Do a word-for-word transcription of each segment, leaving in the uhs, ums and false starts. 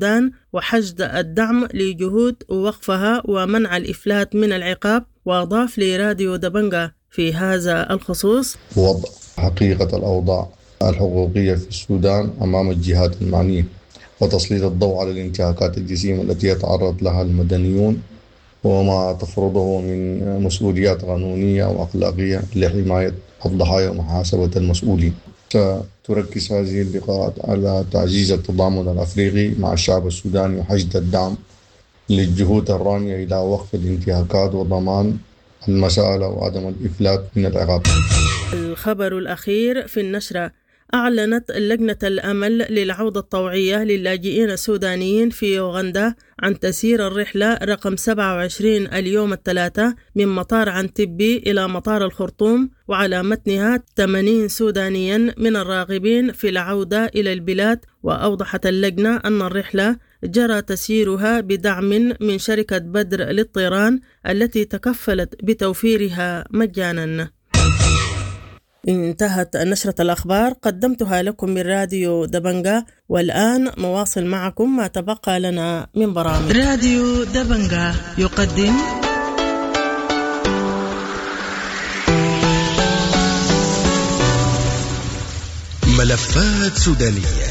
السودان وحشد الدعم لجهود وقفها ومنع الإفلات من العقاب. وأضاف لراديو دبنجا في هذا الخصوص: وضع حقيقة الأوضاع الحقوقية في السودان أمام الجهات المعنية، وتسليط الضوء على الانتهاكات الجسيمة التي يتعرض لها المدنيون وما تفرضه من مسؤوليات قانونية وأخلاقية لحماية الضحايا ومحاسبة المسؤولين. ستركز هذه اللقاءات على تعزيز التضامن الأفريقي مع الشعب السوداني وحشد الدعم للجهود الرامية إلى وقف الانتهاكات وضمان المساءلة وعدم الإفلات من العقاب. الخبر الأخير في النشرة: أعلنت لجنة الأمل للعودة الطوعية للاجئين السودانيين في أوغندا عن تسيير الرحلة رقم سبعة وعشرين اليوم الثلاثاء من مطار عنتبي إلى مطار الخرطوم، وعلى متنها ثمانين سودانيا من الراغبين في العودة إلى البلاد. وأوضحت اللجنة أن الرحلة جرى تسييرها بدعم من شركة بدر للطيران التي تكفلت بتوفيرها مجانا. انتهت نشرة الأخبار، قدمتها لكم من راديو دبنجا، والآن نواصل معكم ما تبقى لنا من برامج. راديو دبنجا يقدم ملفات سودانية.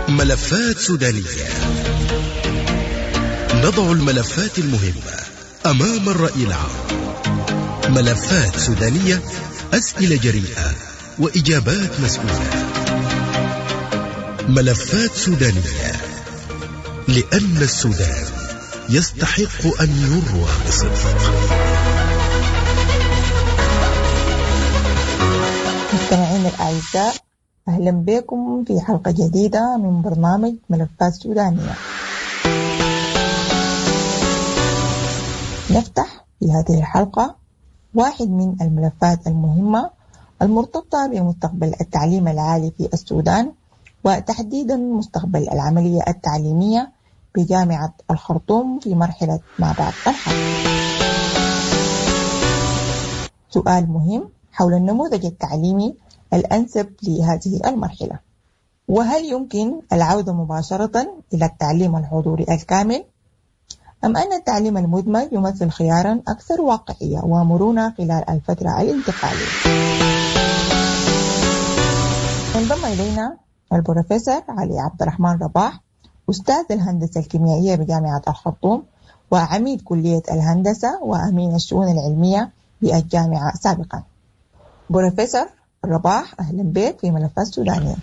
ملفات سودانية، نضع الملفات المهمة أمام الرأي العام. ملفات سودانية، أسئلة جريئة وإجابات مسؤولة. ملفات سودانية، لأن السودان يستحق أن يروى بصدق. مستمعينا الأعزاء، أهلا بكم في حلقة جديدة من برنامج ملفات سودانية. نفتح في هذه الحلقة واحد من الملفات المهمة المرتبطة بمستقبل التعليم العالي في السودان، وتحديدا مستقبل العملية التعليمية بجامعة الخرطوم في مرحلة ما بعد الحرب. سؤال مهم حول النموذج التعليمي الأنسب لهذه المرحلة، وهل يمكن العودة مباشرة إلى التعليم الحضوري الكامل، أم أن التعليم المدمج يمثل خيارا أكثر واقعية ومرونة خلال الفترة الانتقالية؟ انضم إلينا البروفيسور علي عبد الرحمن رباح، أستاذ الهندسة الكيميائية بجامعة الخرطوم وعميد كلية الهندسة وأمين الشؤون العلمية بالجامعة سابقا. بروفيسور رباح، أهلا بك في ملفات سودانية.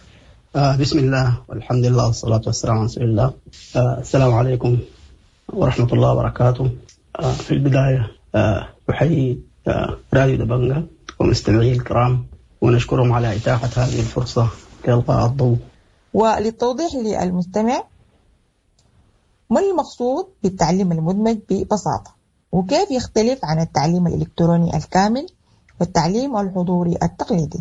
آه بسم الله والحمد لله والصلاة والسلام على رسول الله. آه السلام عليكم ورحمة الله وبركاته. آه في البداية آه أحيي آه راديو دبنجا ومستمعيه الكرام، ونشكرهم على إتاحة هذه الفرصة لإلقاء الضوء. وللتوضيح للمستمع، ما المقصود بالتعليم المدمج ببساطة، وكيف يختلف عن التعليم الإلكتروني الكامل والتعليم الحضوري التقليدي؟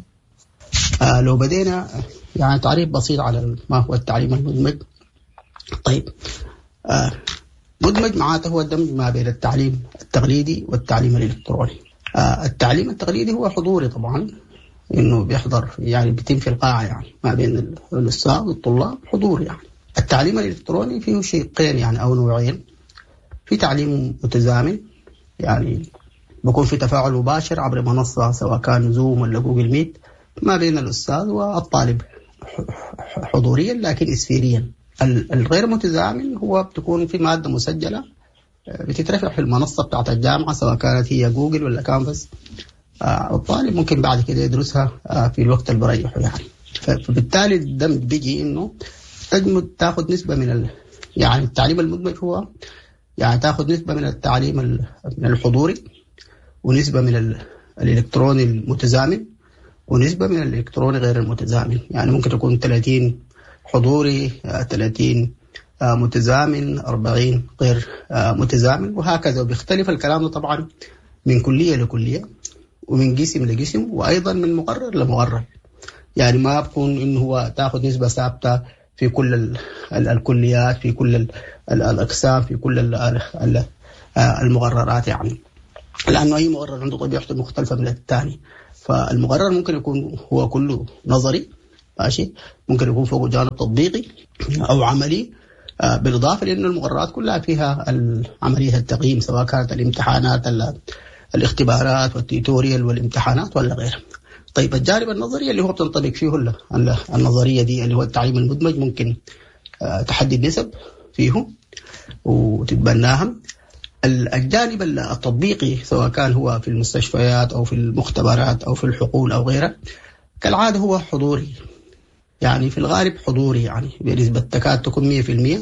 آه لو بدينا يعني تعريف بسيط على ما هو التعليم المدمج. طيب، آه مدمج معناته هو الدمج ما بين التعليم التقليدي والتعليم الإلكتروني. آه التعليم التقليدي هو حضوري طبعا، إنه بيحضر يعني بيتم في القاعة، يعني ما بين الأستاذ والطلاب حضور. يعني التعليم الإلكتروني فيه شقين يعني أو نوعين. في تعليم متزامن، يعني بيكون في تفاعل مباشر عبر منصة سواء كان زوم ولا جوجل ميت ما بين الأستاذ والطالب حضوريا لكن إسفيريا. الغير متزامن هو بتكون في مادة مسجلة بتترفع في المنصة بتاعت الجامعة سواء كانت هي جوجل ولا كانفاس، الطالب ممكن بعد كده يدرسها في الوقت اللي بريحه يعني. فبالتالي الدمج بيجي إنه تجمد تاخذ نسبة من ال... يعني التعليم المدمج هو يعني تاخذ نسبة من التعليم من الحضوري، ونسبة من ال... الإلكتروني المتزامن، ونسبة من الإلكتروني غير المتزامن. يعني ممكن تكون ثلاثين حضوري، ثلاثين متزامن، أربعين غير متزامن، وهكذا. وبيختلف الكلام طبعا من كلية لكلية ومن قسم لقسم، وأيضا من مقرر لمقرر. يعني ما بكون إنه هو تأخذ نسبة ثابتة في كل ال ال الكليات، في كل ال ال الأقسام، في كل ال ال المقررات يعني، لأنه أي مقرر عنده طبيعته مختلفة من الثاني. فالمقرر ممكن يكون هو كله نظري، ماشي، ممكن يكون فوق جانب تطبيقي أو عملي، بالإضافة لأنه المقررات كلها فيها عملية التقييم، سواء كانت الامتحانات الاختبارات وال tutorial والامتحانات ولا غيرها. طيب الجانب النظري اللي هو بتنطبق فيه النظرية دي اللي هو التعليم المدمج، ممكن تحدد نسب فيه وتتبناها. الجانب التطبيقي سواء كان هو في المستشفيات أو في المختبرات أو في الحقول أو غيرها، كالعادة هو حضوري، يعني في الغالب حضوري، يعني بنسبة تكاد تكون مية في المية،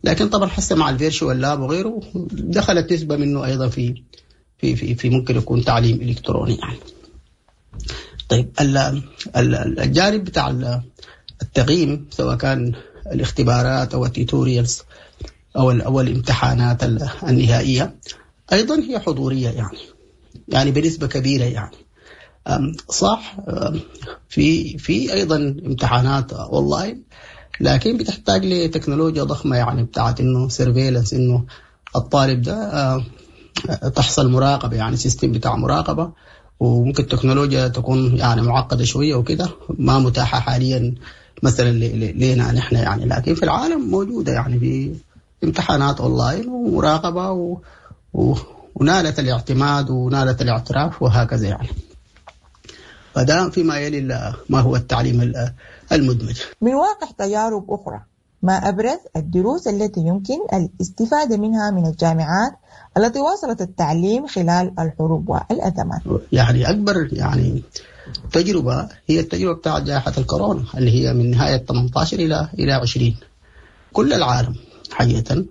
لكن طبعا حتى مع ال virtual lab وغيره دخلت نسبة منه أيضا في في في, في ممكن يكون تعليم إلكتروني يعني. طيب الجانب بتاع التقييم سواء كان الاختبارات أو ال tutorials أو أو الامتحانات النهائية أيضا هي حضورية، يعني يعني بنسبة كبيرة يعني. صح في في أيضا امتحانات أونلاين، لكن بتحتاج لتكنولوجيا ضخمة، يعني بتاعت إنه surveillance، إنه الطالب ده تحصل مراقبة، يعني system بتاع مراقبة، وممكن التكنولوجيا تكون يعني معقدة شوية وكده، ما متاحة حاليا مثلا لنا نحن يعني، لكن في العالم موجودة يعني في امتحانات أونلاين ومراقبة و... و... ونالت الاعتماد ونالت الاعتراف وهكذا يعني. فده فيما يلي ما هو التعليم المدمج. من واقع تجارب أخرى، ما أبرز الدروس التي يمكن الاستفادة منها من الجامعات التي واصلت التعليم خلال الحروب والأزمات؟ يعني أكبر يعني تجربة هي التجربة بتاعت جائحة الكورونا اللي هي من نهاية ثمانية عشر إلى إلى عشرين. كل العالم حقيقة،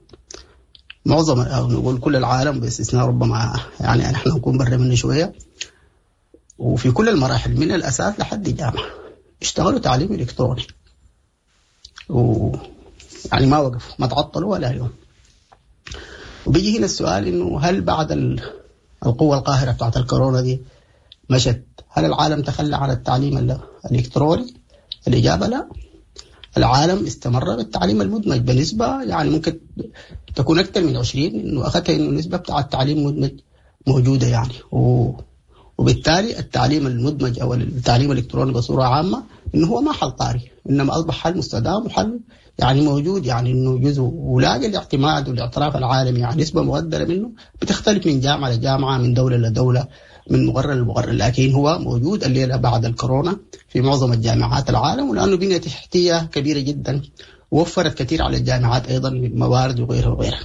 معظم أو نقول كل العالم باستثناء ربما يعني نحن نكون برا منه شوية، وفي كل المراحل من الأساس لحد الجامعة اشتغلوا تعليم إلكتروني، و يعني ما وقفوا، ما تعطلوا ولا يوم. وبيجي هنا السؤال إنه هل بعد القوة القاهرة بتاعت الكورونا دي مشت، هل العالم تخلى عن التعليم الإلكتروني؟ الإجابة لا، العالم استمر بالتعليم المدمج بنسبة يعني ممكن تكون أكثر من عشرين، إنه أخذتها إنه النسبة بتاع التعليم المدمج موجودة يعني. و وبالتالي التعليم المدمج أو التعليم الإلكتروني بصورة عامة إنه هو ما حل طارئ، إنما أصبح حل مستدام وحل يعني موجود، يعني إنه جزء ولاقي الاعتماد والاعتراف العالمي، يعني نسبة مقدرة منه بتختلف من جامعة لجامعة، من دولة لدولة، من مقرر لمقرر، لكن هو موجود الليلة بعد الكورونا في معظم الجامعات العالم، ولأنه بنية تحتية كبيرة جدا ووفرت كثير على الجامعات أيضا من موارد وغيرها وغيرها.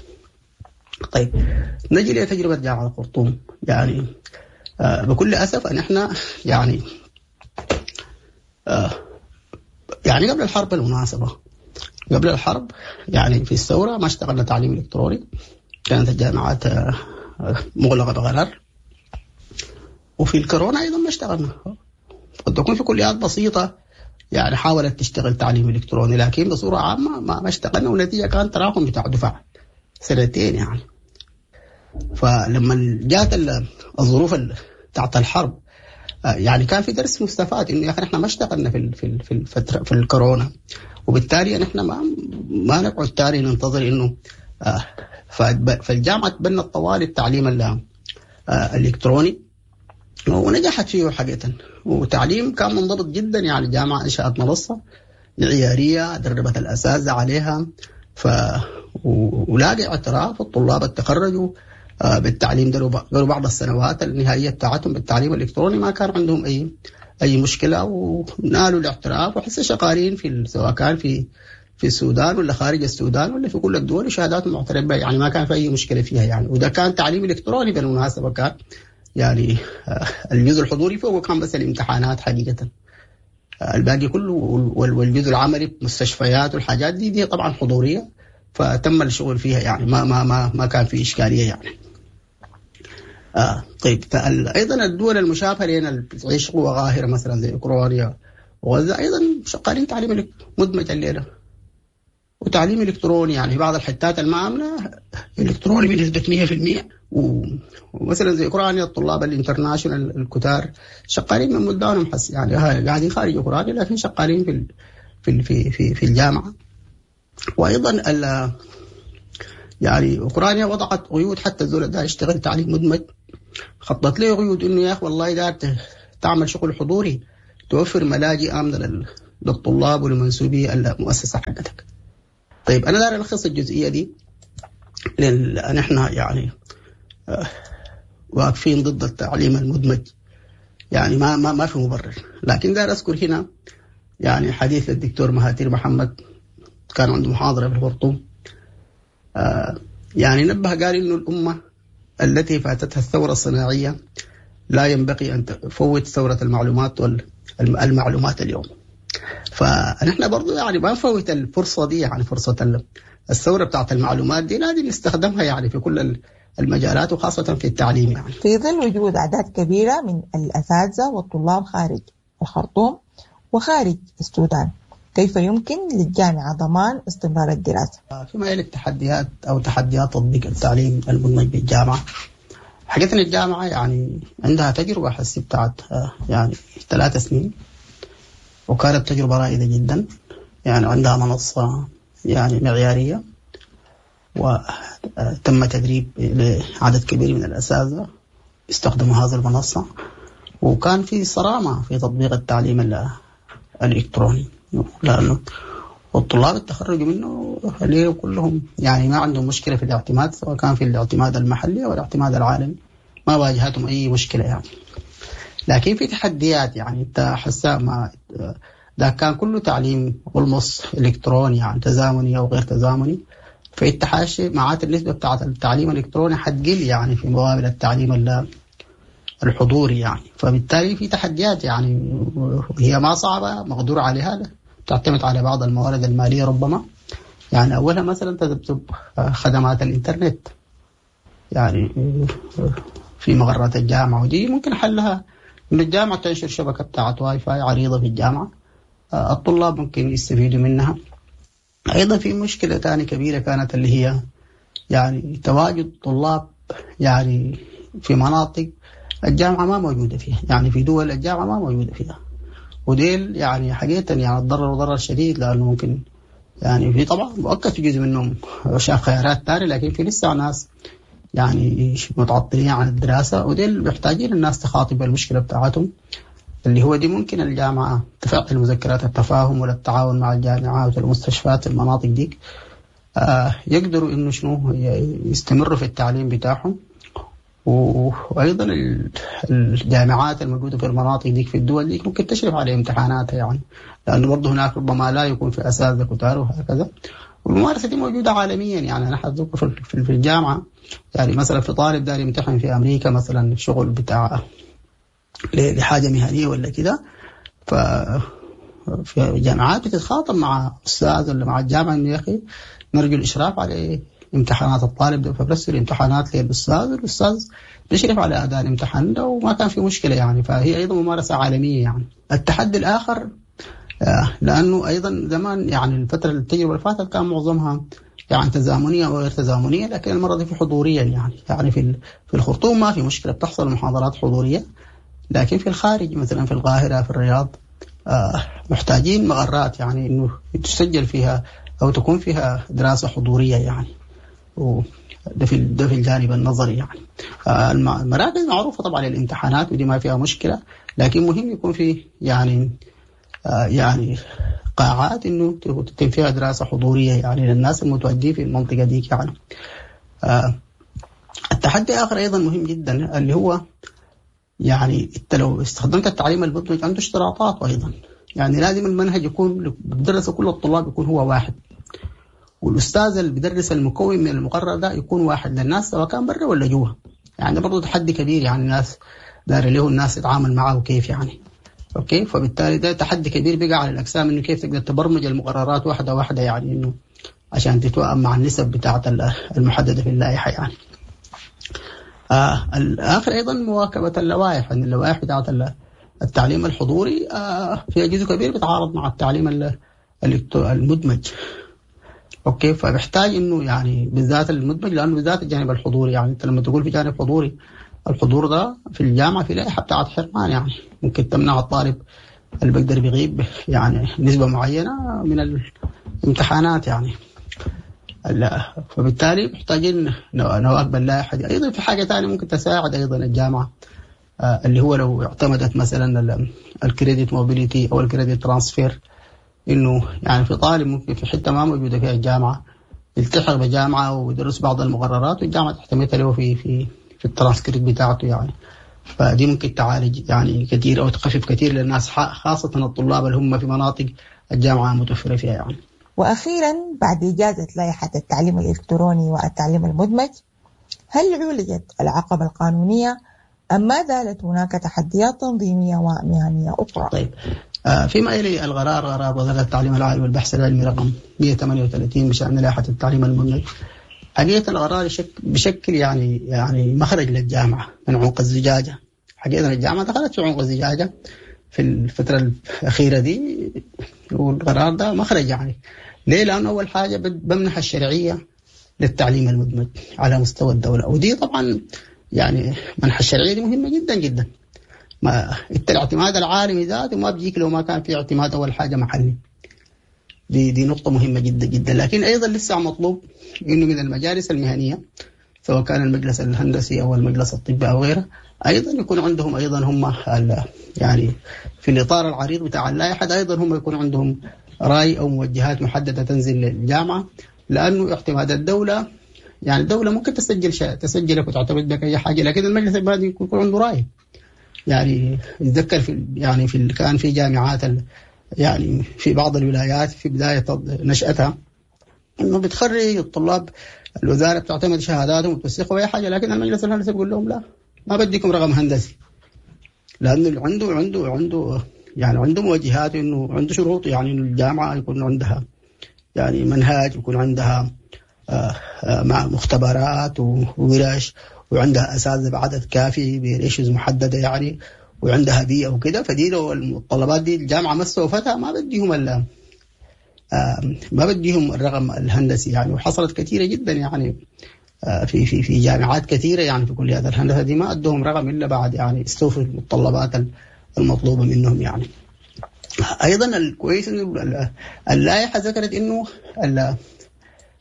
طيب نجي لتجربة جامعة الخرطوم. يعني آه بكل أسف أن إحنا يعني آه يعني قبل الحرب بالمناسبة، قبل الحرب يعني في الثورة ما اشتغلنا تعليم إلكتروني، كانت الجامعات آه مغلقة بقرار، وفي الكورونا أيضا ما اشتغلنا. قد تكون في كليات بسيطة يعني حاولت تشتغل تعليم إلكتروني، لكن بصورة عامة ما, ما اشتغلنا، والنتيجة كان تراكم بتاع دفع سنتين يعني. فلما جات الظروف بتاعت الحرب يعني كان في درس مستفاد انه يا اخي احنا ما اشتغلنا في في في الفتره في الكورونا، وبالتالي نحن ما ما نقعد تاني ننتظر انه فالجامعه تبنت طوال التعليم الالكتروني ونجحت فيه حقيقه، وتعليم كان منضبط جدا. يعني الجامعه انشات منصه معياريه دربت الاساتذه عليها، ف ولاقي اعتراف الطلاب التخرجوا بالتعليم ده بعض السنوات النهائية بتاعتهم بالتعليم الإلكتروني ما كان عندهم أي أي مشكلة، ونالوا الاعتراف، وحسه شغالين في سواء كان في في السودان ولا خارج السودان ولا في كل الدول، وشهاداتهم معترف بها، يعني ما كان في أي مشكلة فيها يعني. وده كان تعليم إلكتروني بالمناسبة، كان يعني الجزء الحضوري فوق كان بس الامتحانات حقيقة، الباقي كله والجزء العملي مستشفيات والحاجات دي دي طبعا حضورية، فتم الشغل فيها يعني ما ما ما ما كان في إشكالية يعني. آه طيب أيضا الدول المشابهة لنا اللي بتعيش قوة قاهرة مثلا زي أوكرانيا وغزة أيضا شغالين تعليم مدمج الليلة وتعليم إلكتروني، يعني بعض الحتات المامنة إلكتروني بنسبة مية في المية، ومثلا زي أوكرانيا الطلاب ال international الكتار شغالين من بلدانهم حس يعني قاعدين خارج أوكرانيا لكن شغالين في في في في, في الجامعة. وأيضا ال يعني أوكرانيا وضعت قيود حتى الزول ده يشتغل تعليم مدمج، خطت له قيود إنه يا أخي والله ده تعمل شغل حضوري، توفر ملاجئ آمنة للطلاب ولمنسوبي المؤسسة حقتك. طيب أنا داير ألخص الجزئية دي لأن نحن يعني واقفين ضد التعليم المدمج، يعني ما ما ما في مبرر. لكن داير أذكر هنا يعني حديث الدكتور مهاتير محمد، كان عنده محاضرة في الخرطوم، آه يعني نبه قال إنه الأمة التي فاتتها الثورة الصناعية لا ينبغي أن تفوت ثورة المعلومات والمعلومات اليوم. فنحن برضو يعني ما نفوت الفرصة دي، يعني فرصة الثورة بتاعت المعلومات دي لازم نستخدمها يعني في كل المجالات وخاصة في التعليم. يعني في ظل وجود أعداد كبيرة من الأساتذة والطلاب خارج الخرطوم وخارج السودان، كيف يمكن للجامعة ضمان استمرار الدراسة؟ فيما يلي التحديات أو تحديات تطبيق التعليم المدمج بالجامعة. حقيقة الجامعة يعني عندها تجربة حسي بتاعت يعني ثلاث سنين، وكانت تجربة رائدة جدا، يعني عندها منصة يعني معيارية، وتم تدريب لعدد كبير من الأساتذة استخدموا هذه المنصة، وكان في صرامة في تطبيق التعليم الإلكتروني، لأنه والطلاب التخرجوا منه ليه كلهم يعني ما عندهم مشكلة في الاعتماد، سواء كان في الاعتماد المحلي أو الاعتماد العالمي، ما واجهتهم أي مشكلة يعني. لكن في تحديات، يعني انت حسا ما ده كان كله تعليم والمص إلكتروني يعني تزامني أو غير تزامني، فانت حاشي معات النسبة بتاعت التعليم الإلكتروني حتقل يعني في مقابل التعليم الحضوري يعني. فبالتالي في تحديات يعني هي ما صعبة، مقدور عليها، تعتمد على بعض الموارد المالية ربما. يعني أولها مثلا تذبذب خدمات الإنترنت يعني في مغرات الجامعة، ودي ممكن حلها إن الجامعة تنشر شبكة بتاعت واي فاي عريضة في الجامعة، الطلاب ممكن يستفيدوا منها. أيضا في مشكلة تانية كبيرة كانت اللي هي يعني تواجد طلاب يعني في مناطق الجامعة ما موجودة فيها، يعني في دول الجامعة ما موجودة فيها، وديل يعني حقيقة يعني تضرروا ضرر شديد، لأنه ممكن يعني في طبعا مؤقت في جزء منهم شاف خيارات تانية، لكن في لسه ناس يعني متعطلين عن الدراسة، وديل محتاجين الناس تخاطب المشكلة بتاعتهم اللي هو دي ممكن الجامعة تفعل مذكرات التفاهم ولا التعاون مع الجامعات والمستشفيات المناطق ديك، آه يقدروا إنه شنو يستمروا في التعليم بتاعهم. وأيضا الجامعات الموجودة في المناطق ديك في الدول ديك ممكن تشرف على امتحاناتها يعني، لأنه برضه هناك ربما لا يكون في أساتذة كتار وهكذا. والممارسة دي موجودة عالميا يعني. أنا حذكر في الجامعة يعني مثلا في طالب داري يمتحن في أمريكا مثلا شغل بتاع لحاجة مهنية ولا كده، ف في جامعات بتتخاطب مع أستاذ ولا مع الجامعة إنه يا أخي نرجو الإشراف على امتحانات الطالب ده، فبرسل امتحانات للأستاذ، والأستاذ بيشرف على أداء الامتحان ده، وما كان في مشكلة يعني. فهي أيضا ممارسة عالمية يعني. التحدي الآخر لأنه أيضا زمان يعني الفترة التجربة اللي فاتت كان معظمها يعني تزامنية وغير تزامنية، لكن المرة دي في حضوريا يعني. يعني في في الخرطوم ما في مشكلة، بتحصل محاضرات حضورية، لكن في الخارج مثلا في القاهرة في الرياض محتاجين مغرات يعني إنه تسجل فيها أو تكون فيها دراسة حضورية يعني. وده في ده في الجانب النظري يعني. المراكز معروفة طبعا للامتحانات ودي ما فيها مشكلة، لكن مهم يكون في يعني يعني قاعات إنه تتم فيها دراسة حضورية يعني للناس المتواجدين في المنطقة ديك يعني. التحدي آخر أيضا مهم جدا اللي هو يعني انت لو استخدمت التعليم المدمج عنده اشتراطات أيضا، يعني لازم المنهج يكون بدرس كل الطلاب يكون هو واحد، والأستاذ اللي بدرس المكون من المقرر ده يكون واحد للناس سواء كان برا ولا جوا. يعني برضه تحدي كبير يعني، الناس دار له الناس تتعامل معه كيف يعني. okay، فبالتالي ده تحدي كبير بقى على الأقسام إنه كيف تقدر تبرمج المقررات واحدة واحدة يعني إنه عشان تتوائم مع النسب بتاعة المحددة في اللائحة يعني. آه الآخر أيضا مواكبة اللوائح، أن اللوائح بتاعة التعليم الحضوري آه فيها جزء كبير بيتعارض مع التعليم المدمج. okay، فبيحتاج إنه يعني بالذات المدمج، لأنه بالذات الجانب الحضوري يعني أنت لما تقول في جانب حضوري، الحضور ده في الجامعة في لائحة بتاعة حرمان يعني ممكن تمنع الطالب اللي بيقدر بيغيب يعني نسبة معينة من الامتحانات يعني. لا، فبالتالي محتاجين نواكب اللائحة دي. أيضا في حاجة ثانية ممكن تساعد أيضا الجامعة اللي هو لو اعتمدت مثلا ال credit mobility أو ال credit transfer، انه يعني في طالب ممكن في حتة ما موجودة فيها الجامعة يلتحق بجامعة ويدرس بعض المقررات والجامعة تعتمدها له في في في الترانسكريبت بتاعته يعني. فدي ممكن تعالج يعني كثير او تخفف كثير للناس، خاصة الطلاب اللي هم في مناطق الجامعة متوفرة فيها يعني. واخيرا، بعد اجازه لائحة التعليم الالكتروني والتعليم المدمج، هل عولجت العقبة القانونية ام ما زالت هناك تحديات تنظيميه ومهنيه اخرى؟ طيب، فيما يلي القرار، قرار وزارة التعليم العالي والبحث العلمي رقم مئة وثمانية وثلاثين بشأن لائحة التعليم المدمج، حقيقة القرار بشكل يعني يعني مخرج للجامعة من عنق الزجاجة. حقيقة الجامعة دخلت في عنق الزجاجة في الفترة الأخيرة دي، والقرار ده مخرج يعني. ليه؟ لأنه أول حاجة بمنح الشرعية للتعليم المدمج على مستوى الدولة، ودي طبعا يعني منح الشرعية دي مهمة جدا جدا. ما انت الاعتماد العالمي ذاته ما بيجيك لو ما كان في اعتماد اول حاجة محلي. دي دي نقطة مهمة جدا جدا. لكن ايضا لسه مطلوب انه من المجالس المهنية سواء كان المجلس الهندسي او المجلس الطبي او غيره، ايضا يكون عندهم ايضا هم يعني في الاطار العريض بتاع اللائحة ايضا هم يكون عندهم راي او موجهات محددة تنزل للجامعة، لانه اعتماد الدولة يعني الدولة ممكن تسجل تسجلك وتعتمد لك اي حاجة، لكن المجلس المهني يكون عنده راي. يعني اتذكر في يعني في كان في جامعات يعني في بعض الولايات في بداية نشاتها انه بتخرج الطلاب، الوزارة بتعتمد شهاداتهم وتوثقهم اي حاجة، لكن المجلس الهندسي بيقول لهم لا، ما بديكم رقم هندسي، لانه عنده عنده عنده يعني عنده موجهات، انه عنده شروط، يعني انه الجامعة يكون عندها يعني منهاج، يكون عندها مع مختبرات وورش، وعندها اساتذة بعدد كافي ب ratios محددة يعني، وعندها بيئة وكده. فدي لو المتطلبات دي الجامعة ما استوفتها ما بديهم ال ما بديهم الرقم الهندسي يعني. وحصلت كثيرة جدا يعني في في في جامعات كثيرة يعني في كليات الهندسة دي ما ادوهم رقم الا بعد يعني استوفوا المتطلبات المطلوبة منهم يعني. ايضا الكويس انه اللائحة ذكرت انه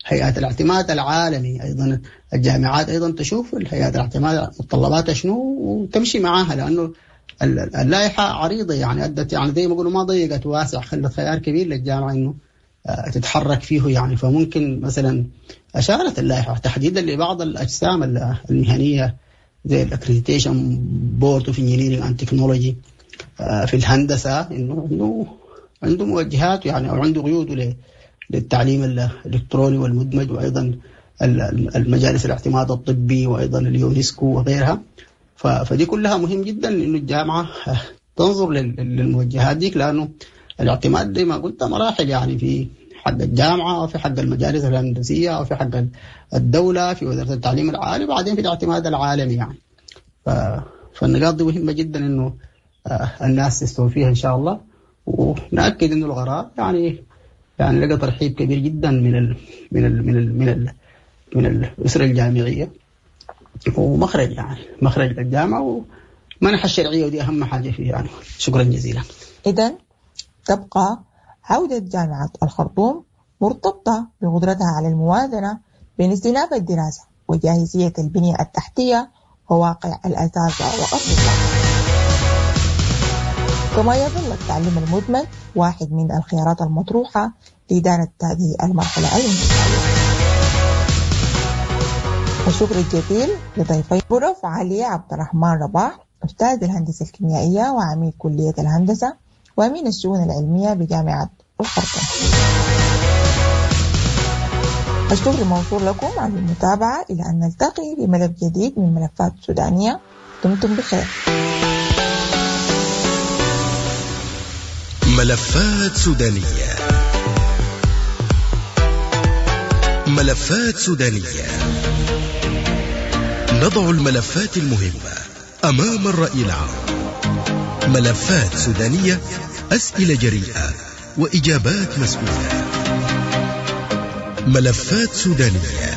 هيئات الاعتماد العالمي ايضا الجامعات ايضا تشوف الهيئات الاعتماد متطلباتها شنو وتمشي معاها، لانه اللائحة عريضة يعني ادت يعني زي ما يقولوا ما ضيقت واسع، خلت خيار كبير للجامعة انه تتحرك فيه يعني. فممكن مثلا اشارت اللائحة تحديدا لبعض الاجسام المهنية زي ال Accreditation Board of Engineering and Technology في الهندسة انه انه عنده موجهات يعني او عنده قيود للتعليم الالكتروني والمدمج، وايضا المجالس الاعتماد الطبي وايضا اليونسكو وغيرها. فدي كلها مهم جدا انه الجامعة تنظر للموجهات ديك، لانه الاعتماد زي ما قلت مراحل يعني، في حق الجامعة وفي حق المجالس الهندسية وفي حق الدولة في وزارة التعليم العالي، وبعدين في الاعتماد العالمي يعني. فالنقاط دي مهمة جدا انه الناس تستوفيها ان شاء الله. ونأكد انه القرار يعني يعني لقى ترحيب كبير جدا من ال من ال من ال من ال من الاسرة الجامعية، ومخرج يعني مخرج للجامعة ومنح الشرعية، ودي اهم حاجة فيه يعني. شكرا جزيلا. اذا تبقى عودة جامعة الخرطوم مرتبطة بقدرتها على الموازنة بين استئناف الدراسة وجاهزية البنية التحتية وواقع الأساتذة والطلاب. كما يظل التعليم المدمج واحد من الخيارات المطروحة لإدارة هذه المرحلة الانتقالية. الشكر الجزيل لضيفي بروف علي عبد الرحمن رباح، أستاذ الهندسة الكيميائية وعميد كلية الهندسة وأمين الشؤون العلمية بجامعة الخرطوم. الشكر موصول لكم على المتابعة، إلى أن نلتقي بملف جديد من ملفات سودانية. دمتم بخير. ملفات سودانية، ملفات سودانية، نضع الملفات المهمة أمام الرأي العام. ملفات سودانية، أسئلة جريئة وإجابات مسؤولة. ملفات سودانية،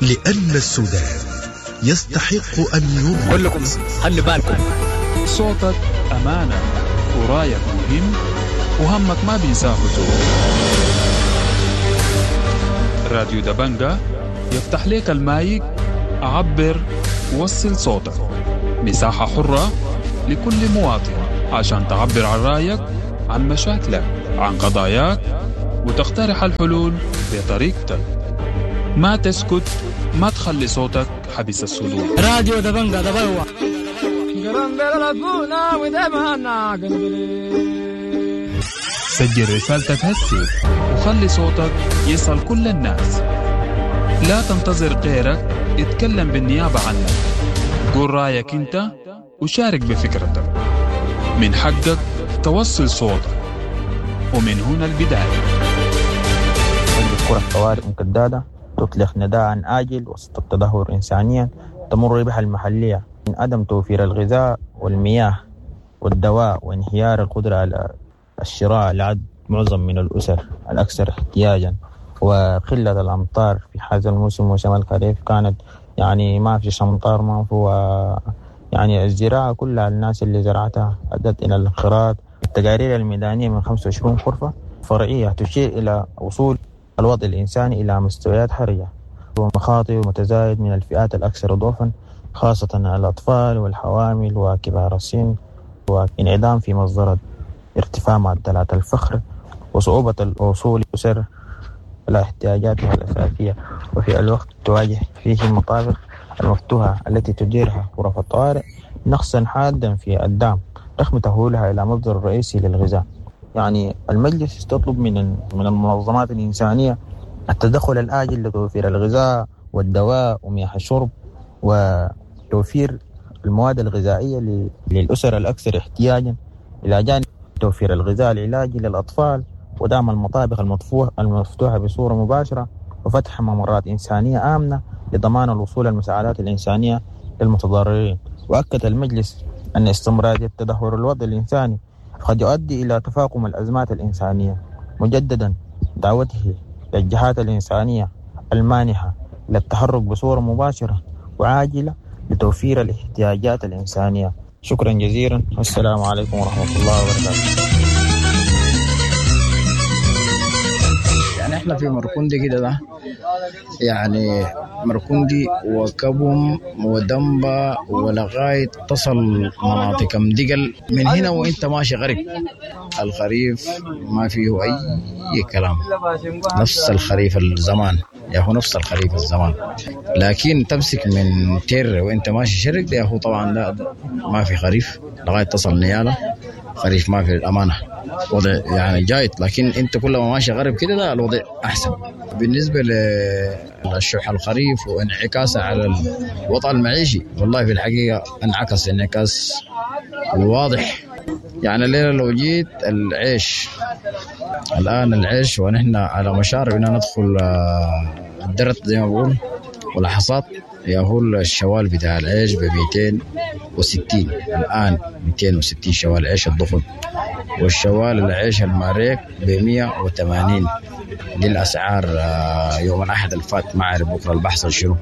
لأن السودان يستحق أن يروى. كلكم خلي بالكم، صوتك أمانة ورايك مهم وهمك ما بينساه زول. راديو دبنجة يفتح لك المايك، عبر وصل صوتك، مساحة حرة لكل مواطن عشان تعبر عن رأيك، عن مشاكلك، عن قضاياك وتقترح الحلول بطريقتك. ما تسكت، ما تخلي صوتك حبس الصدور. راديو دبنجا دبلوة. سجل رسالتك هسي وخلي صوتك يصل كل الناس. لا تنتظر غيرك يتكلم بالنيابة عنك. قول رأيك انت وشارك بفكرتك. من حقك توصل صوتك، ومن هنا البداية. كرة طوارئ مكدادة تطلق نداء آجل وسط التدهور إنسانيا تمر بها المحلية من عدم توفير الغذاء والمياه والدواء وانهيار القدرة على الشراء لعدد معظم من الأسر الأكثر احتياجا، وقلة الأمطار في هذا الموسم وشمال الخريف كانت يعني ما في أمطار، ما في، يعني الزراعة كلها الناس اللي زرعتها أدت إلى الانقراض. التقارير الميدانية من خمسة وعشرين غرفة فرعية تشير إلى وصول الوضع الإنساني إلى مستويات حرجة ومخاطر متزايد من الفئات الأكثر ضعفا، خاصة الأطفال والحوامل وكبار السن، وانعدام في مصدر ارتفاع معدلات الفقر وصعوبة الوصول للأسر إلى احتياجاتها الأساسية. وفي الوقت تواجه فيه المطابخ المفتوحة التي تديرها غرف الطوارئ نقصا حادا في الدعم رغم تحولها إلى مصدر رئيسي للغذاء. يعني المجلس تطلب من من المنظمات الإنسانية التدخل الآجل لتوفير الغذاء والدواء ومياه الشرب وتوفير المواد الغذائية للأسر الأكثر احتياجا، إلى جانب توفير الغذاء العلاجي للأطفال ودعم المطابخ المفتوحة بصورة مباشرة وفتح ممرات إنسانية آمنة لضمان الوصول المساعدات الإنسانية للمتضررين. وأكد المجلس أن استمرار تدهور الوضع الإنساني قد يؤدي إلى تفاقم الأزمات الإنسانية، مجددا دعوته للجهات الإنسانية المانحة للتحرك بصورة مباشرة وعاجلة لتوفير الاحتياجات الإنسانية. شكرا جزيلا، والسلام عليكم ورحمة الله وبركاته. يعني احنا في مركوندي كده ده، يعني مركوندي وكبم ودمبا ولغاية تصل مناطق مدقل من هنا وانت ماشي غرب. الخريف ما فيه اي كلام، نفس الخريف الزمان يا هو نفس الخريف الزمان، لكن تمسك من تير وانت ماشي شرق يا هو طبعا لا ما في خريف لغاية تصل نيالة، خريف ما في الأمانة، وضع يعني جايد. لكن انت كل ما ماشي غرب كده لا الوضع احسن. بالنسبه للشح الخريف وانعكاسه على الوضع المعيشي، والله في الحقيقه انعكس انعكاس واضح. يعني الليله لو جيت العيش الان، العيش ونحن على مشارف ان ندخل الدرت زي ما بقول والحصاد، يا هو الشوال بتاع العيش ب مئتين وستين الآن، مئتين وستين شوال عيش الضخم، والشوال العيش الماريك ب مئة وثمانين. دي الأسعار يوم الأحد الفات، ما أعرف بكرة البحث شنو.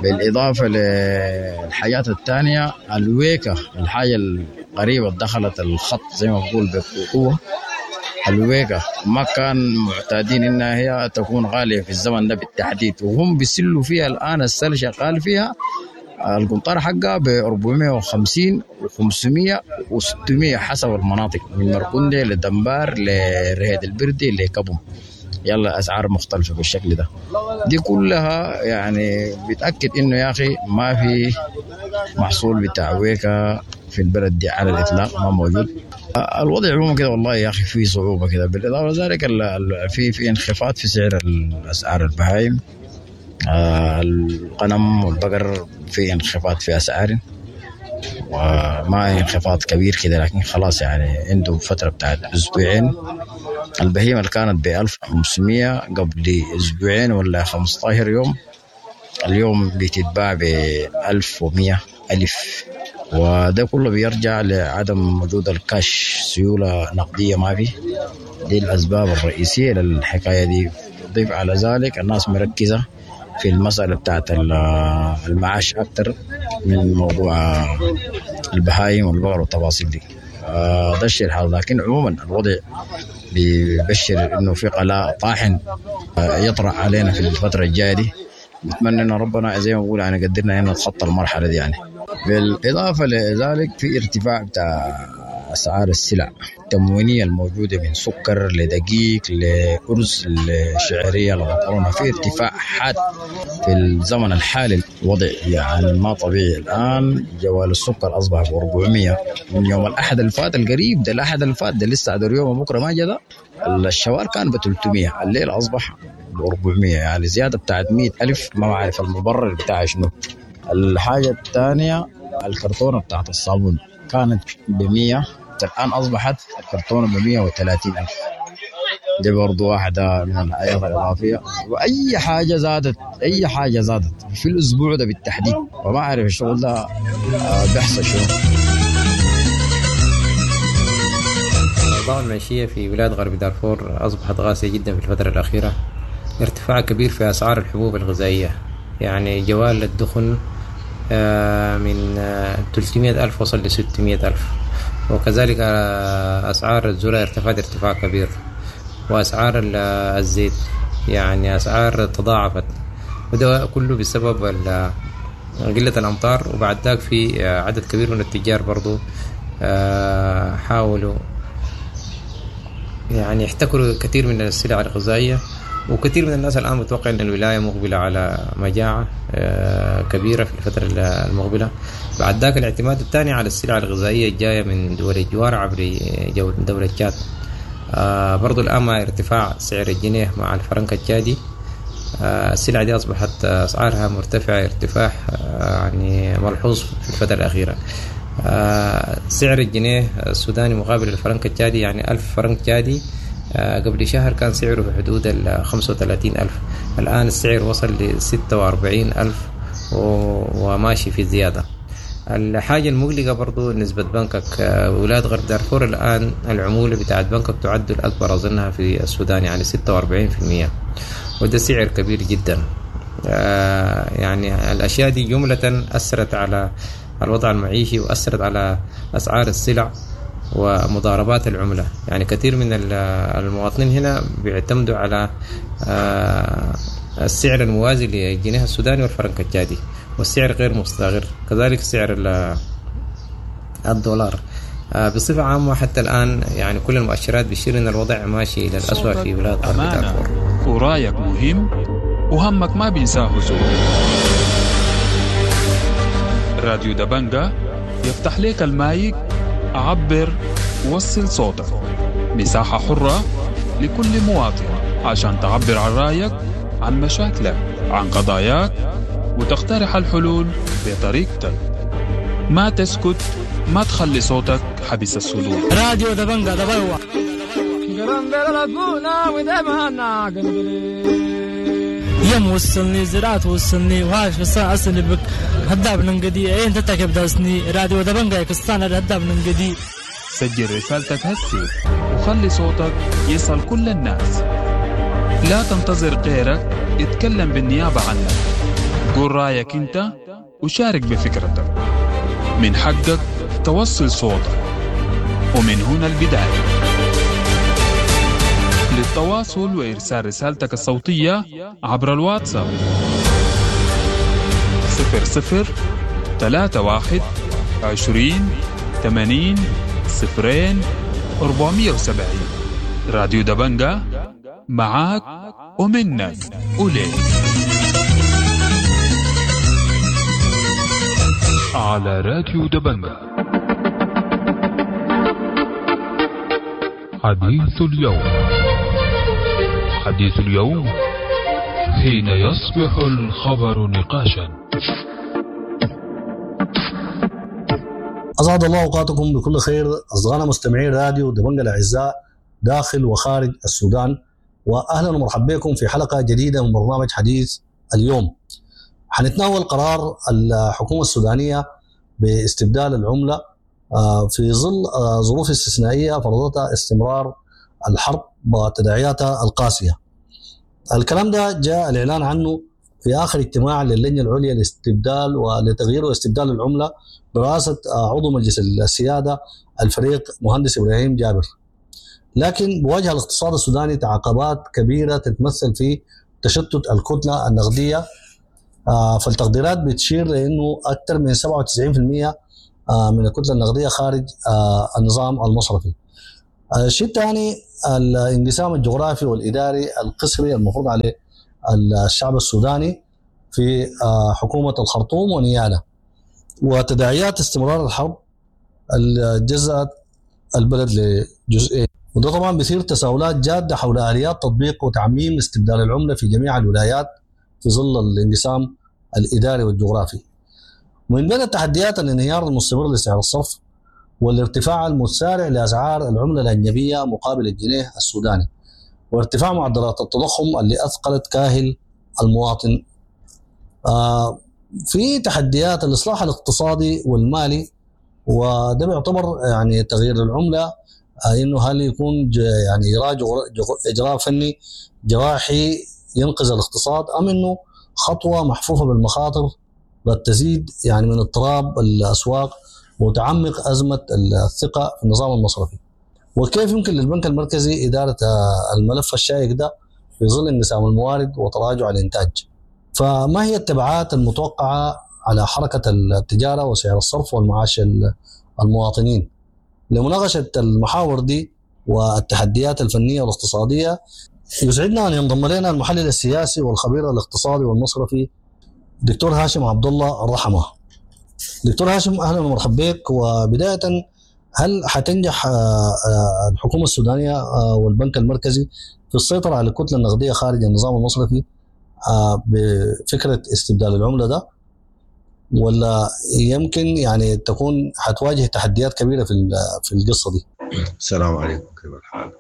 بالإضافة للحاجات الثانية، الويكة الحاجة القريبة دخلت الخط زي ما بقول بقوة. الويكة ما كان معتادين إنها هي تكون غالية في الزمن ده بالتحديد، وهم بيسلوا فيها الآن، السل شغال فيها القنطار حقها ب أربعمئة وخمسين وخمسمئة وستمئة حسب المناطق، من مركوندي لدنبار لرهيد البردي لكبم، يلا أسعار مختلفة بالشكل ده. دي كلها يعني بتأكد إنه يا أخي ما في محصول بتاع ويكا في البلد دي على الإطلاق، ما موجود. الوضع عموما كده والله يا أخي في صعوبة كده. بالإضافة لذلك في في انخفاض في سعر الأسعار البهايم، الغنم والبقر في انخفاض في أسعار، وما انخفاض كبير كده، لكن خلاص يعني عنده فترة بتاعت أسبوعين. البهيمة اللي كانت ب ألف وخمسمئة قبل أسبوعين ولا خمسة عشر يوم، اليوم بتتباع ب ألف ومئة ألف، وده كله بيرجع لعدم وجود الكاش، سيولة نقدية ما في. دي الأسباب الرئيسية للحكاية دي. ضيف على ذلك الناس مركزة في المسألة بتاعت المعاش أكتر من موضوع البهايم والبقر والتفاصيل دي. ده الشيء الحال. لكن عموما الوضع بيبشر إنه في قلاء طاحن يطرأ علينا في الفترة الجاية دي. نتمنى إن ربنا زي ما بقول يعني قدرنا إن نتخطى المرحلة دي يعني. بالإضافة لذلك في ارتفاع بتاع أسعار السلع التموينية الموجودة من سكر لدقيق لأرز لشعرية لمكرونة، في ارتفاع حاد في الزمن الحالي. الوضع يعني ما طبيعي الآن. جوال السكر أصبح ب أربعمية من يوم الأحد الفات القريب ده، الأحد الفات ده لسه عدر يوم بكرة ما جدا. الشوال كان ب ثلاثمية، الليل أصبح ب أربعمية، يعني زيادة بتاعت مية ألف. ما بعرف المبرر بتاع شنو. الحاجة الثانية الكرتونة بتاعت الصابون كانت بمية، الآن أصبحت الكرتونة بمية وثلاثين ألف. دي برضو واحدة من الحاجات الإضافية. وأي حاجة زادت، أي حاجة زادت في الأسبوع ده بالتحديد، وما أعرف الشغل ده بيحصل شنو. الأوضاع المعيشية في بلاد غرب دارفور أصبحت قاسية جدا في الفترة الأخيرة. ارتفاع كبير في أسعار الحبوب الغذائية، يعني جوال الدخن من ثلاثمية ألف وصل ل ستمية ألف، وكذلك أسعار الذرة ارتفعت ارتفاع كبير، وأسعار الزيت يعني أسعار تضاعفت، وده كله بسبب قلة الأمطار. وبعد ذاك في عدد كبير من التجار برضو حاولوا يعني احتكروا كثير من السلع الغذائية، وكثير من الناس الآن متوقع أن الولاية مقبلة على مجاعة كبيرة في الفترة المقبلة. بعد ذاك الاعتماد الثاني على السلع الغذائية الجاية من دول الجوار عبر دولة تشاد. برضو الآن مع ارتفاع سعر الجنيه مع الفرنك التشادي، السلع دي أصبحت أسعارها مرتفعة ارتفاع يعني ملحوظ في الفترة الأخيرة. سعر الجنيه السوداني مقابل الفرنك التشادي، يعني ألف فرنك تشادي قبل شهر كان سعره في حدود ال خمسة وثلاثين ألف، الآن السعر وصل ل ستة وأربعين ألف وماشي في زيادة. الحاجة المقلقة برضو نسبة بنكك، ولاد غرب دارفور الآن العمولة بتاعت بنكك تعد الأكبر أظنها في السودان، يعني ستة وأربعين بالمية، وده سعر كبير جدا. يعني الأشياء دي جملة أثرت على الوضع المعيشي وأثرت على أسعار السلع ومضاربات العملة. يعني كثير من المواطنين هنا بيعتمدوا على السعر الموازي للجنيه السوداني والفرنك التشادي، والسعر غير مستقر، كذلك سعر الدولار بصفة عامة. حتى الآن يعني كل المؤشرات بتشير أن الوضع ماشي إلى الأسوأ في بلاد غرب دارفور. ورايك مهم وهمك ما بينساه زول. راديو دبنجا يفتح لك المايك، عبر، وصل صوتك، مساحة حرة لكل مواطن عشان تعبر عن رأيك، عن مشاكلك، عن قضاياك، وتقترح الحلول بطريقتك. ما تسكت، ما تخلي صوتك حبس الصدور. راديو دبنجا دبوا يم وصلني زراعة وصلني وهاش بس أصلي بك هداب ننقدي إيه أنت تكب داسني راديو دبنجا يكستان هداب ننقدي. سجل رسالتك هسي وخلي صوتك يصل كل الناس. لا تنتظر غيرك يتكلم بالنيابة عنك. قول رأيك أنت وشارك بفكرتك. من حقك توصل صوتك، ومن هنا البداية. للتواصل وإرسال رسالتك الصوتية عبر الواتساب صفر صفر ثلاثة واحد عشرين ثمانين صفرين أربعمية وسبعين. راديو دبنجا معاك ومنك وليك على راديو دبنجا. حديث اليوم، حديث اليوم حين يصبح الخبر نقاشا. أسعد الله أوقاتكم بكل خير أصدقائنا مستمعين راديو دبنجا الأعزاء داخل وخارج السودان، وأهلا ومرحبا بكم في حلقة جديدة من برنامج حديث اليوم. حنتناول قرار الحكومة السودانية باستبدال العملة في ظل ظروف استثنائية فرضتها استمرار الحرب وتداعياتها القاسية. الكلام ده جاء الإعلان عنه في آخر اجتماع للجنة العليا لاستبدال ولتغيير واستبدال العملة برئاسة عضو مجلس السيادة الفريق مهندس إبراهيم جابر. لكن بواجه الاقتصاد السوداني تعاقبات كبيرة تتمثل في تشتت الكتلة النقدية، فالتقديرات بتشير لأنه أكثر من سبعة وتسعين بالمئة من الكتلة النقدية خارج النظام المصرفي. الشيء الثاني الانقسام الجغرافي والإداري القسري المفروض عليه الشعب السوداني في حكومة الخرطوم ونيالا، وتداعيات استمرار الحرب اللي جزأت البلد لجزئين، وده طبعا بيثير تساؤلات جادة حول آليات تطبيق وتعميم استبدال العملة في جميع الولايات في ظل الانقسام الإداري والجغرافي. ومن بين التحديات الانهيار المستمر لسعر الصرف والارتفاع المتسارع لأسعار العملة الأجنبية مقابل الجنيه السوداني، وارتفاع معدلات التضخم اللي أثقلت كاهل المواطن. آه في تحديات الإصلاح الاقتصادي والمالي، وده بيعتبر يعني تغيير العملة آه إنه هل يكون يعني إجراء فني جراحي ينقذ الاقتصاد، أم إنه خطوة محفوفة بالمخاطر قد تزيد يعني من اضطراب الأسواق وتعمق أزمة الثقة في النظام المصرفي. وكيف يمكن للبنك المركزي إدارة الملف الشائك ده في ظل انقسام الموارد وتراجع الإنتاج؟ فما هي التبعات المتوقعة على حركة التجارة وسعر الصرف والمعاش المواطنين؟ لمناقشة المحاور دي والتحديات الفنية والاقتصادية يسعدنا أن ينضم لنا المحلل السياسي والخبير الاقتصادي والمصرفي دكتور هاشم عبد الله الرحمة. دكتور هاشم أهلا ومرحبا بك. وبداية، هل حتنجح الحكومة السودانية والبنك المركزي في السيطرة على الكتلة النقدية خارج النظام المصرفي بفكرة استبدال العملة ده، ولا يمكن يعني تكون حتواجه تحديات كبيرة في في القصة دي؟ السلام عليكم، كيف الحال؟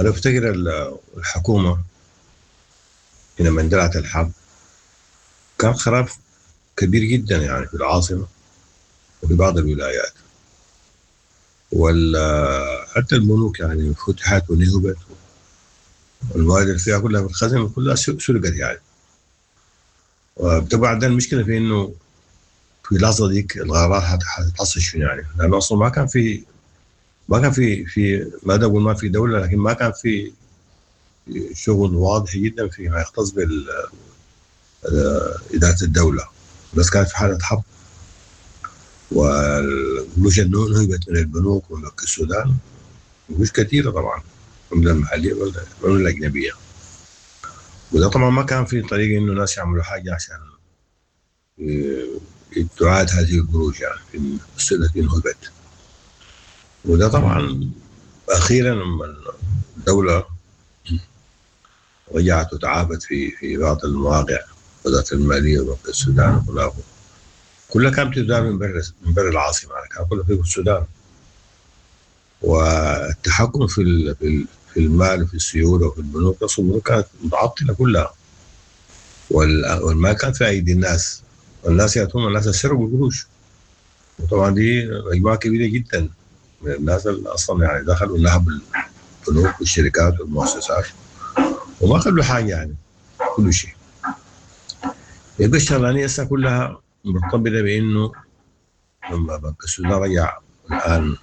أنا أفتكر الحكومة حينما اندلعت الحرب كان خراب كبير جدا يعني في العاصمة وفي بعض الولايات، وحتى البنوك يعني فتحت ونهبت، والموارد فيها كلها في الخزنة كلها سرقت يعني. وطبعا ده المشكلة في إنه في اللحظة ديك الغارات حتحصل شنو يعني، لأنه أصلا ما كان في ما كان في في ما أقول ما في دولة، لكن ما كان في شغل واضح جدا فيما يختص بال إدارة الدولة، بس كانت في حالة حرب، والقروش نهبت من البنوك وبنك السودان، قروش كثيرة طبعا، العملة المحلية والعملة الأجنبية. وده طبعا ما كان في طريقة إنه الناس يعملوا حاجة عشان تعاد هذه القروش يعني في السنة التي نهبت. وده طبعا أخيرا لما الدولة رجعت وتعافت في في بعض المواقع، وزارة المالية وبنك السودان وخلافه، كلها كانت بتدار من برا من برا العاصمة، يعني كان كلها في السودان. والتحكم في في المال وفي السيولة وفي البنوك، أصلا البنوك كانت متعطلة كلها، والمال كان في أيدي الناس، والناس يأتون الناس سرقوا القروش. وطبعا دي مجموعة كبيرة جدا من الناس اللي أصلا يعني دخلوا نهبوا البنوك والشركات والمؤسسات وما خلوا حاجة يعني، كل شيء. يبقى الشغلانية هسه كلها مرتبطة بإنه لما بنك السودان رجع الآن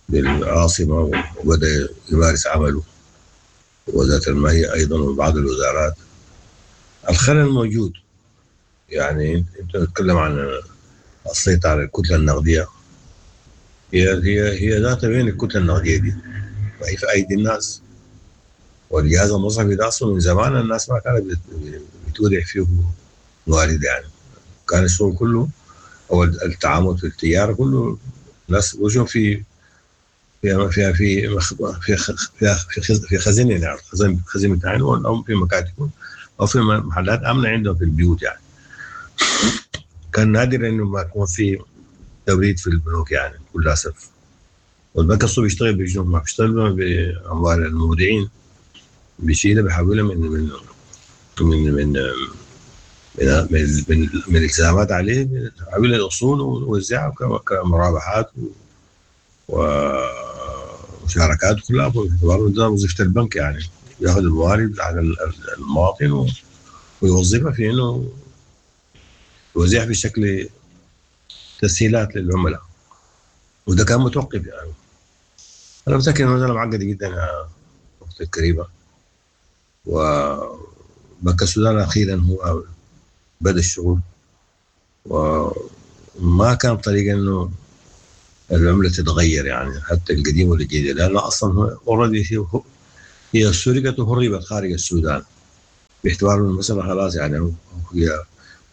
للعاصمة وبدأ يمارس عمله، وزارة المالية أيضا وبعض الوزارات، الخلل موجود. يعني أنت تتكلم عن السيطرة على الكتلة النقدية، هي هي هي ذات بين الكتلة النقدية دي وهي في أيدي الناس. والجهاز المصرفي ده أصلا من زمان الناس ما كانت بتودع فيه موارد يعني، كان الشغل كله أو التعامل في التجارة كله الناس وجهوا في في في في في في في خزينة يعني، خزين خزينة بتاعهم أو في مكاتبهم أو في محلات آمنة عندهم في البيوت يعني. كان نادر إنه ما يكون في توريد في البنوك يعني بكل أسف. والبنك الصوبي بيشتغل بجنوب، ما بيشتغل بأموال المودعين، بيشيلها بيحولها من من من من من من, من, من الالتزامات عليه، بيحولها الأصول ويوزعها كمرابحات ومشاركات كلها. باعتبار وظيفة البنك يعني، ياخذ الموارد على المواطن ويوظفها في انه يوزعها بشكل تسهيلات للعملاء، وده كان متوقف يعني. انا متاكد انه المسالة معقدة جدا يا اختي الكريمة، وبنك السودان اخيرا هو بدا الشغل، وما كان طريقه انه العملة تتغير يعني حتى القديم والجديد، لأن أصلا already هي سرقت وهربت خارج السودان باعتبار المسألة خلاص يعني هي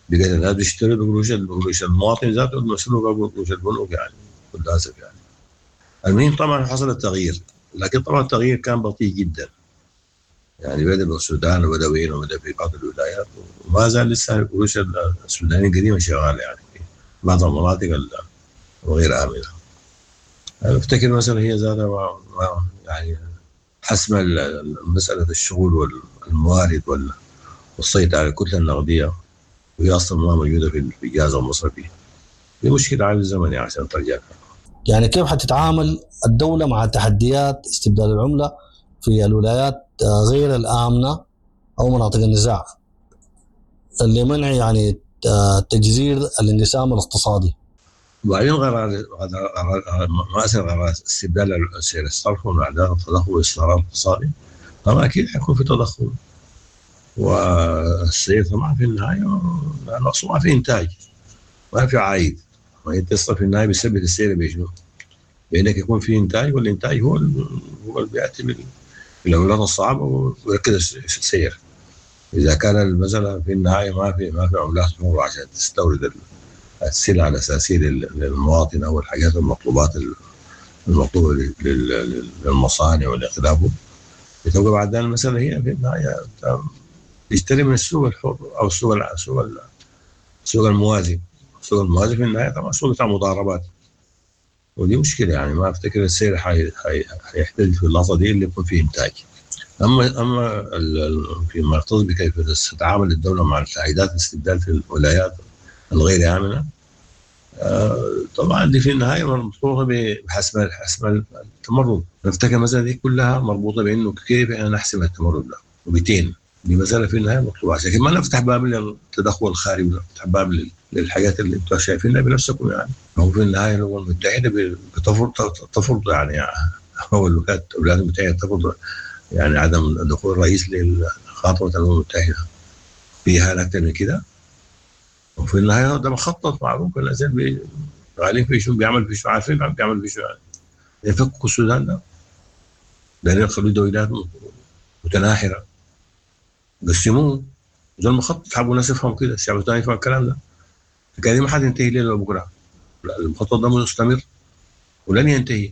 بقت الناس بيشتروا بقروش بقروش المواطن ذاته المسروقة بقروش البنوك يعني للأسف يعني. المهم طبعا حصل التغيير، لكن طبعا التغيير كان بطيء جدا يعني، بدا بالسودان وبدا وين وبدا في بعض الولايات، وما زال لسه القروش السودانية القديمة شغالة يعني في بعض المناطق الغير آمنة. أنا أفتكر مثلا هي ذاتها يعني حسم مسألة الشغل والموارد والسيطرة على الكتلة النقدية، وهي أصلا ما موجودة في الجهاز المصرفي. دي مشكلة عايز زمن يعني عشان ترجع. يعني كيف حتتعامل الدولة مع تحديات استبدال العملة في الولايات غير الآمنة أو مناطق النزاع اللي منع يعني تجزير الانقسام الاقتصادي؟ وبعدين قرار مأساة قرار استبدال سعر الصرف ومعدل التضخم والاستقرار الاقتصادي، طبعا أكيد حيكون في تضخم، والسعر طبعا في النهاية لأنه أصلا ما في إنتاج ما في عائد، ما أنت في النهاية بيثبت السعر بشنو؟ بأنك يكون في إنتاج، والإنتاج هو هو اللي بيأتي بالعملات الصعبة ويركز السعر. إذا كان المسألة في النهاية ما في ما في عملات حرة عشان تستورد السلع الأساسية للمواطن أو الحاجات المطلوبات المطلوبة للمصانع والإخلافه، بتبقى بعد المسألة هي في النهاية تشتري من السوق الحر أو السوق السوق السوق الموازي. السوق الموازي في النهاية طبعا سوق بتاع مضاربات، ودي مشكلة يعني. ما أفتكر السعر حيحتل في اللحظة دي اللي يكون فيه إنتاج. أما أما فيما يختص بكيف تتعامل الدولة مع التعقيدات الاستبدال في الولايات الغير آمنة، طبعا دي في النهاية مربوطة بحسم حسم التمرد. نفتكر المسألة دي كلها مربوطة بأنه كيف احنا نحسم التمرد ده وبتين. دي مسألة في النهاية مطلوبة عشان ما نفتح باب للتدخل الخارجي ونفتح باب للحاجات اللي انتم شايفينها بنفسكم يعني. هو في النهاية الأمم المتحدة بتفرض تفرض يعني هو الولايات المتحدة تفرض يعني عدم دخول الرئيس لخطوة الأمم المتحدة فيها أكثر من كده. وفي النهاية ده مخطط معروف، الناس شغالين في شو بيعمل في شو، عارفين بيعمل في شو يعني. يفكوا السودان ده لأن يخلوا دولات متناحرة قسموه ده المخطط، حابوا الناس يفهموا كده، الشعب الثاني يفهم الكلام ده. الحكاية دي ما حتنتهي ليلة بكرة، المخطط ده مستمر ولن ينتهي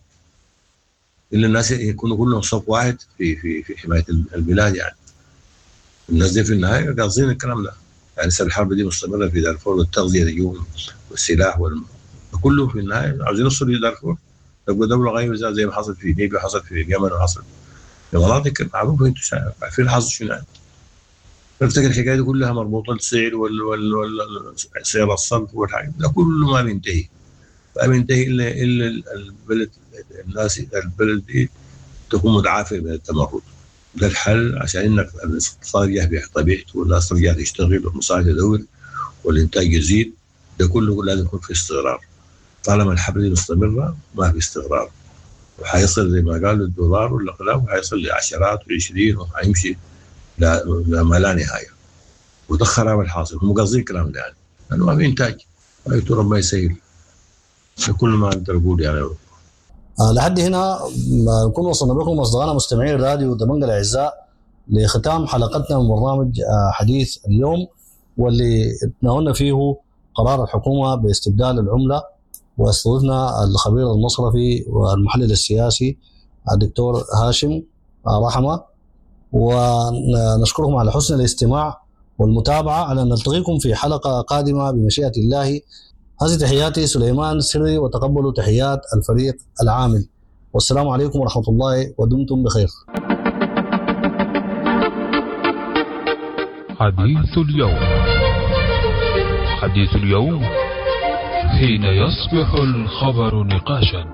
إلا الناس يكونوا كلهم صف واحد في في في حماية البلاد يعني. الناس دي في النهاية قاصدين الكلام ده يعني. لسه الحرب دي مستمرة في دارفور، والتغذية تجوم والسلاح وال... كله في النهاية عاوزين يوصلوا لدارفور تبقى دولة غير زي ما حصل في ليبيا، حصل في اليمن، وحصل في مناطق معروفة انتم عارفين حصل شنو يعني. فافتكر الحكاية دي كلها مربوطة بالسعر وال وال وال سعر الصرف والحاجات ده كله ما بينتهي، ما بينتهي الا الا البلد الناس البلد دي تكون متعافية من التمرد. ده الحل عشان انك الاقتصاد يرجع بطبيعته والناس ترجع تشتغل والمصانع تدور والانتاج يزيد. ده كله لازم يكون في استقرار. طالما الحرب دي مستمرة ما في استقرار، وحيصل زي ما قالوا الدولار والاقلام وحيصل لعشرات وعشرين وحيمشي لا ما لا نهاية. وده خراب الحاصل، هم قاصدين الكلام ده يعني لانه ما في انتاج. ربنا يسهل كل ما اقدر اقول يعني. آه لحد هنا نكون وصلنا بكم اصدقائنا مستمعين راديو دبنجة الاعزاء لختام حلقتنا من برنامج آه حديث اليوم، واللي تناولنا فيه قرار الحكومة باستبدال العملة، واستضفنا الخبير المصرفي والمحلل السياسي الدكتور هاشم رحمه، ونشكركم على حسن الاستماع والمتابعة، على ان نلتقيكم في حلقة قادمة بمشيئة الله. هذه تحياتي سليمان سري، وتقبلوا تحيات الفريق العامل، والسلام عليكم ورحمة الله، ودمتم بخير. حديث اليوم، حديث اليوم حين يصبح الخبر نقاشا.